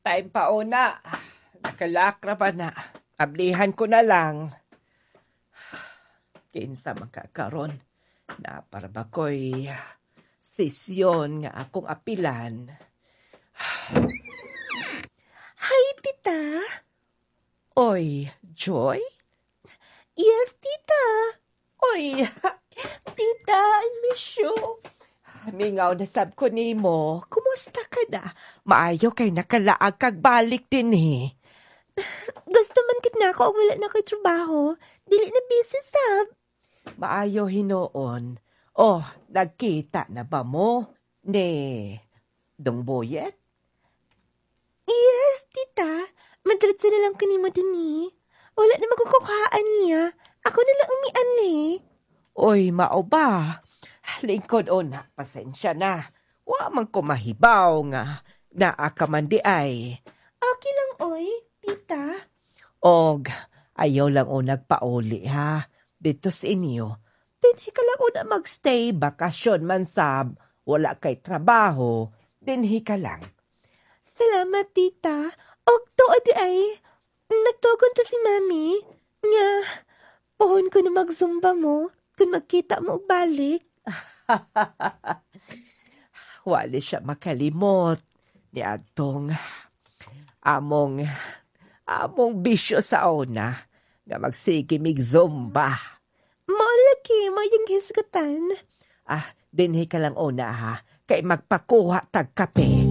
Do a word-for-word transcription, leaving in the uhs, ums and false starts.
Time pa una. Nakalakra pa na. Ablihan ko na lang. Kinsa man ka karon. Naa pa ra ba ko'y sesyon nga akong apilan. Hi, tita. Oy, Joy? Yes, tita. Oy, tita, I miss you. Mingaw na sab ko nimo. Kumusta ka na? Maayo kay nakalaag kag balik dinhi. Gusto man gid nako og wala na ko'y trabaho. Dili na busy sab. Maayo hinuon. Oh, nagkita na ba mo ni Dong Boyet? Yes, tita. Madiretso na lang ko nimo dinhi. Wala na magkukuhaan niya. Ako na lang umian eh. Oy, mao ba? Lingkod o na, pasensya na. Wa man ko mahibaw nga naa ka man diay. Okay lang, oy, tita. Og ayaw lang o nagpauli ha. Dito sa inyo. Dinhi ka lang una magstay, bakasyon man sab. Wala kay trabaho, dinhi ka lang. Salamat, tita. Og tuod diay. Nagtugon to si mami. Nga, pohon ko na magzumba mo kung magkita mo og balik. Wali siya makalimot ni adtong among among bisyo sa una nga magsige mig zumba. Mao lagi mo yung hisgutan. Ah, dinhi ka lang una ha, kay magpakuha tag kape.